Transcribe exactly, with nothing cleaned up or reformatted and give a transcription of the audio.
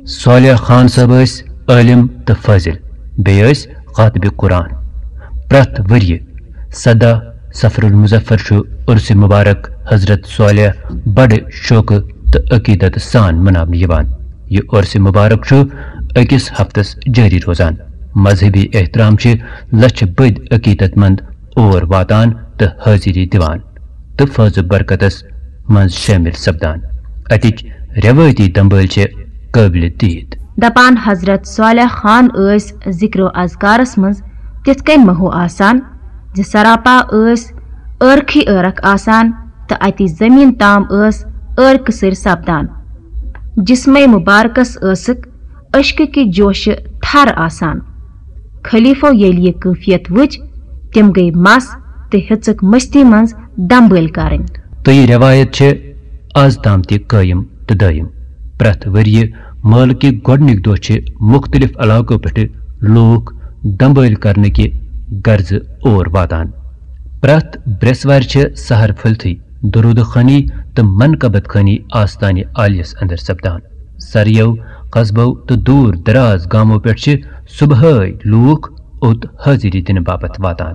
صالح خان صٲب ٲسۍ عٲلِم تہٕ فٲضِل، بیٚیہِ ٲسۍ کاتبِ قرآن۔ پرٛٮ۪تھ ؤرۍ یہِ سَداہ صفر المظفر چھُ عرس مبارک حضرت صالح بڑٕ شوقہٕ تہٕ عقیدت سان مناونہٕ یِوان۔ یہِ عرس مبارک چھُ أکِس ہفتس جٲری روزان۔ مذہبی احترام چھِ لچھِ بٔدۍ عقیدت مند اور واتان تہٕ حٲضری دِوان تہٕ فٲض و برکتس منٛز شٲمِل سپدان۔ اَتِکۍ رٮ۪وٲیتی دمبٲلۍ چھِ قٲبلِ دید۔ دپان حضرت صالح خان ٲسۍ ذکر و اذکارس منٛز تِتھ کٔنۍ محو آسان زِ سراپا ٲسۍ ٲرکھٕے ٲرکھ آسان تہٕ اَتی زٔمیٖن تام ٲس ٲرکہٕ سٕرۍ سپدان۔ جسمے مبارکس ٲسٕکھ اشکہٕ کہِ جوشہٕ تھر آسان۔ خلیفو ییٚلہِ یہِ کٲفیت وٕچھ، تِم گٔیہِ مس تہٕ ہیٚژٕکھ مستی منٛز دمبٲلۍ کرٕنۍ۔ تہٕ یہِ رٮ۪وایت چھِ از تام تہِ قٲیِم تہٕ دٲیِم۔ پرٛٮ۪تھ ؤرۍ یہِ مٲلہٕ کہِ گۄڈٕنِکۍ دۄہ چھِ مُختٔلِف علاقو پٮ۪ٹھٕ لوٗکھ دمبٲلۍ کرنہٕ کہِ غرضہٕ اور واتان۔ پرٛٮ۪تھ برٛٮ۪سوارِ چھِ سحر پھٔلتھٕے درود خٲنی تہٕ منقبت خٲنی آستانہِ عالیس اندر سپدان۔ سرٮ۪و، قصبو تہٕ دوٗر دراز گامو پٮ۪ٹھ چھِ صبحٲے لوٗکھ اوٚت حٲضری دِنہٕ باپتھ واتان۔